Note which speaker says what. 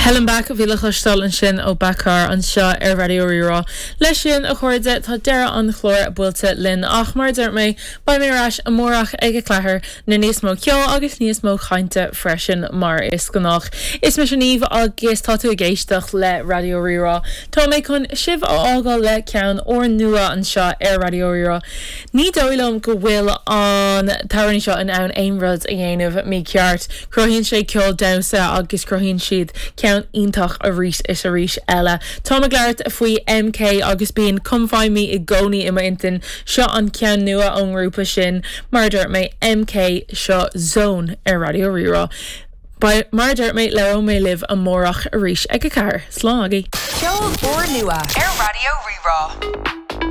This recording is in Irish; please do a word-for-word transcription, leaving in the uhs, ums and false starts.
Speaker 1: Hell and Back bhí le cloisteáil ansin ó Becar anseo ar Raidió Rí-Rá. Leis sin a chairde tá deireadh an chláir buailte linn ach mar dúirt mé beidh mé ar ais amárach ag a ceathair le níos mó ceoil agus níos mó cainte freisin mar is gnách. Is mise Niamh agus tá tú ag éisteacht le Raidió Rí-Rá. Tá mé chun sibh a fhágáil le ceann úrnua anseo ar Raidió Rí-Rá. Ní dóigh liom go bhfuil an t-amhránaí seo in ann aon rud a dhéanamh mícheart. Cruthaíonn sé ceol damhsa agus cruthaíonn siad ceann iontach arís is arís eile. Tá ag labhairt faoi MK agus bíonn Come Find Me i gcónaí i m'intinn seo an ceann nua ón ngrúpa sin mar dúirt mé MK seo Zone ar Raidió Rí-Rá. Mar dúirt mé labhróidh mé libh amárach arís ag a ceathair, Slán agaibh.
Speaker 2: Ceol úrnua ar Raidió Rí-Rá.